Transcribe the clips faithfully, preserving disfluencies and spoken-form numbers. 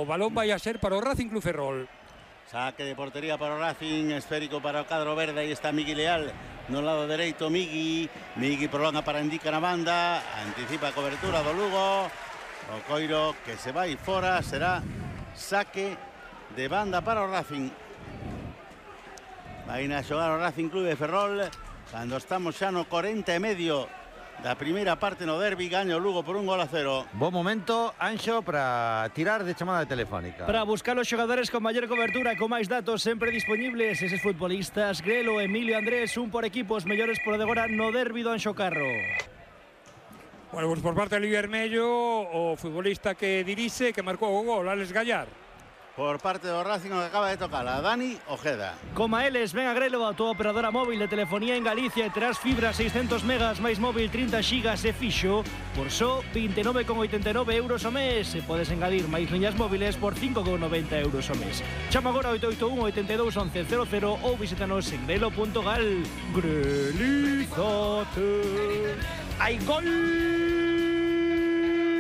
balón vai a ser para o Racing Club Ferrol. Saque de portería para o Racing, esférico para o cadro verde. Aí está Migui Leal no lado dereito. Migui, Migui prolonga para indica na banda, anticipa a cobertura do Lugo. O coiro que se vai fora, será saque de banda para o Racing. Vai a xogar o Racing Club de Ferrol cando estamos xa no corenta e medio da primeira parte no derbi. Gaña o Lugo por un gol a cero. Buen momento, Anxo, para tirar de chamada telefónica. Para buscar os xogadores con maior cobertura, con máis datos sempre disponibles. Eses futbolistas, Grelo, Emilio, Andrés, un por equipo, os mellores por de agora no derbi do Anxo Carro. Bueno, pues por parte do Vermello, o futbolista que dirixe, que marcou o gol, Alex Gallar. Por parte do Racing, que acaba de tocar a Dani Ojeda. Coma eles, ven a Grelo, a tua operadora móvil de telefonía en Galicia e terás fibra seiscentos megas máis móvil trinta xigas e fixo por só vinte e nove con oitenta e nove euros ao mes. E podes engadir máis liñas móviles por cinco con noventa euros ao mes. Chama agora oito oito un, oito dous, once cero cero ou visítanos en grelo punto gal. Grelizate. Hai gol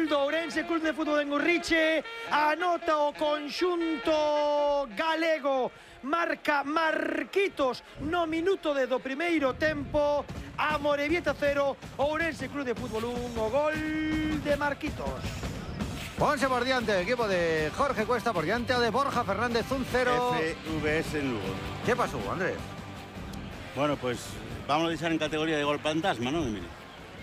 do Ourense Club de Fútbol en Urriche. Anota o conxunto galego. Marca Marquitos no minuto de do primeiro tempo. Amorebieta cero, Ourense Club de Fútbol un. O gol de Marquitos. Ponse por diante el equipo de Jorge Cuesta, por diante o de Borja Fernández, un cero. F V S en Lugo. ¿Qué pasó, Andrés? Bueno, pues vamos a deixar en categoría de gol fantasma, ¿no, Emilio?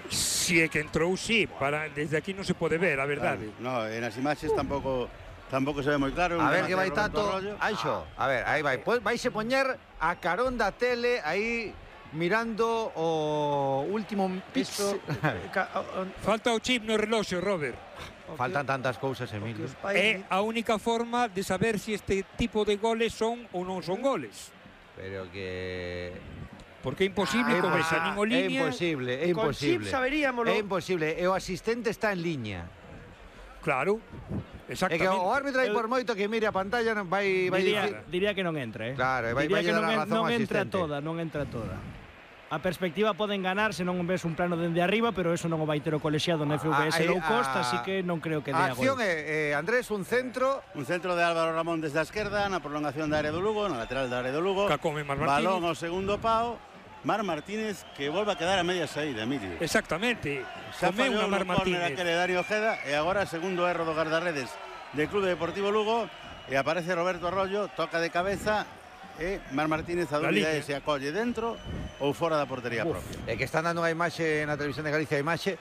Si é que entrou, sí, para, desde aquí non se pode ver, a verdade. Claro, no, en as imaxes tampouco tampouco se ve moi claro. A ver que vai Tato, Anxo, a ver, aí vai, pues vais a poñer a carón da tele aí mirando o último piso. Falta o chip no reloxo, Robert. Faltan tantas cousas, Emilio. É a única forma de saber se si este tipo de goles son ou non son goles. Pero que... Porque é imposible, ah, como esa nin o liña. É imposible, é imposible. Con chip saberíamolo. É imposible, e o asistente está en liña. Claro, exactamente. É que o árbitro aí por moito que mire a pantalla non vai vai diría, dicir... diría que non entra, eh. Claro, vai diría vai que dar non, a razón non ao entra asistente. toda, non entra toda. A perspectiva poden ganar se non ves un plano dende arriba, pero eso non o vai ter o colexiado no F V S low cost, así que non creo que dé a gol. A acción é, eh, Andrés, un centro. Un centro de Álvaro Ramón desde a esquerda, na prolongación da área do Lugo, na lateral da área do Lugo. Cacome Mar Martínez. Balón ao segundo pao. Mar Martínez, que volve a quedar a media saída, Emilio. Exactamente. Xa Comeu fallou unha Mar no córner Martínez. aquele Dani Ojeda, e agora segundo erro do guardarredes del Club Deportivo Lugo, e aparece Roberto Arroyo, toca de cabeza, e Mar Martínez a dúbida é se acolle dentro ou fora da portería Uf, propia. É que están dando unha imaxe na televisión de Galicia, a imaxe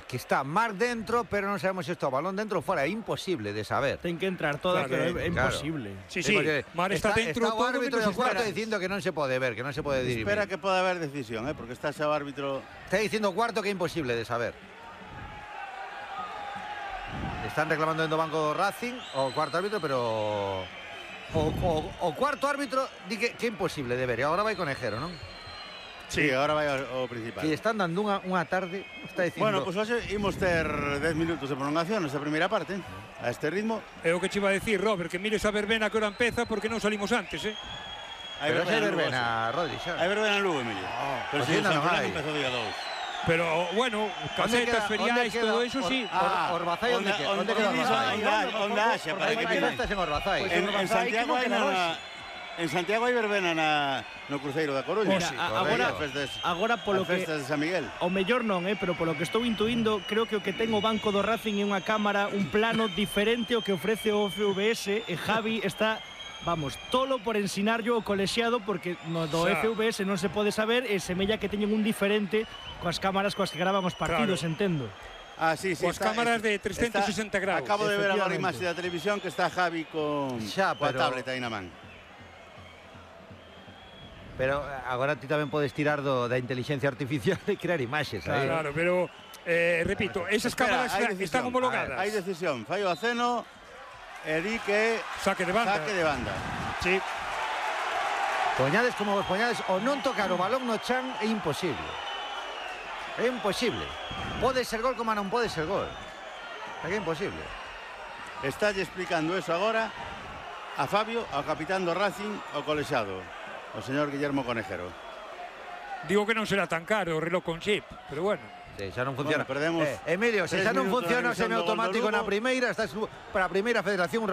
que está Mar dentro, pero non sabemos se está o balón dentro ou fora, é imposible de saber. Ten que entrar toda, claro, que é claro. imposible. Sí, sí, Mar está, está dentro está o todo árbitro menos do cuarto espera. dicindo que non se pode ver, que non se pode dirimir. Espera que poda haber decisión, eh, porque está xa o árbitro. Está dicindo o cuarto que é imposible de saber. Están reclamando dentro do banco do Racing o cuarto árbitro, pero o, o, o cuarto árbitro di que, que é imposible de ver. E agora vai Conejero, non? Sí, agora vai ao, ao principal. Que están dando unha, unha tarde, está dicindo... Bueno, pois pues hoxe imos ter dez minutos de prolongación nesta primeira parte, a este ritmo. É o que che iba a decir, Robert, que mires a verbena que hora empeza porque non salimos antes, eh? Hai Pero hai verbena, verbena, Rodri, xa. hai verbena en Lugo, Emilio. Oh, pero pues si ainda o San non Fernando hai. empezou día dos. Pero, bueno, casetas, feriais, todo eso, sí. Ah, Orbazai, onde que? Onde queda Orbazai? Onde haxa, para que Hai piden. festas en Orbazai. En, en Santiago hai na, en Santiago hai verbena na, no Cruceiro da Coruña. Mira, Sí, agora, festas, agora polo as que festas de San Miguel. o mellor non, eh, pero polo que estou intuindo, creo que o que ten o banco do Racing é unha cámara, un plano diferente ao que ofrece o F V S, e Javi está, vamos, tolo por ensinarlo o colexiado, porque no do Xa. F V S non se pode saber, e semella que teñen un diferente coas cámaras coas que graban os partidos, Claro. entendo. Ah, sí, sí. Coas cámaras de trescentos sesenta graus. Acabo de ver agora a Efectivamente. imaxe da televisión que está Javi con Xa, coa pero- tableta aí na man. Pero agora ti tamén podes tirar do, da inteligencia artificial e crear imaxes. aí. Claro, pero, eh, repito, esas Espera, cámaras hai están decisión. homologadas. Hai decisión. Fallo a Ceno e di que Saque de banda. saque de banda. Sí. Poñades como vos poñades, o non tocar o balón no chan é imposible. É imposible. Pode ser gol como non pode ser gol. É que é imposible. Está explicando eso agora a Fabio, ao capitán do Racing, o colexiado, o señor Guillermo Conejero. Digo que non será tan caro o reloj con chip, pero bueno. Sí, xa non funciona. Bueno, perdemos eh, Emilio, se tres xa non minutos funciona na revisión do gol do semiautomático Lugo. na primeira, estás para a primeira federación